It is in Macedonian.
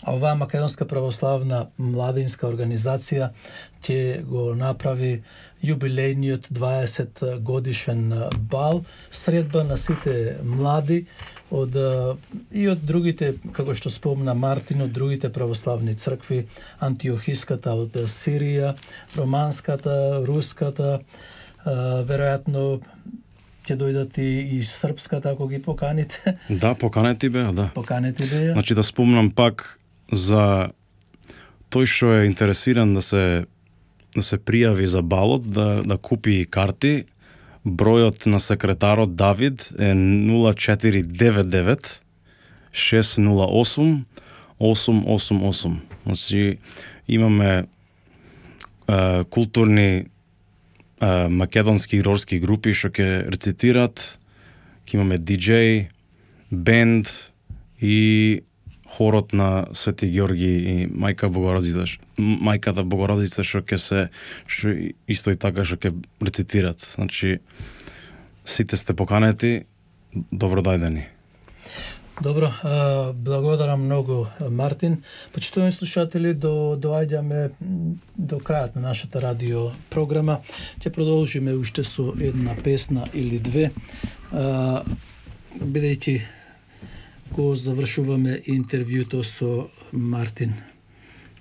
оваа Македонска православна младинска организација ќе го направи јубилејниот 20 годишен бал, средба на сите млади и од другите, како што спомна Мартин, од другите православни цркви, Антиохиската од Сирија, Романската, Руската, веројатно ќе дојдат и српската, ако ги поканите. Да, поканети беа, да. Поканети беа. Значи да спомнам пак за тој што е интересиран да се пријави за балот, да купи карти. Бројот на секретарот Давид е 0499 608 888. Значи имаме културни македонски и рорски групи што ќе рецитират, ќе имаме диџеј, бенд и хорот на Свети Ѓорги и Мајката Богородица што исто и така што ќе рецитират. Значи сите сте поканети, добро дојдени. Добро, благодарам многу, Мартин. Почитувани слушатели, доаѓаме до крајот на нашата радио програма. Ќе продолжиме уште со една песна или две, бидејќи го завршуваме интервјуто со Мартин.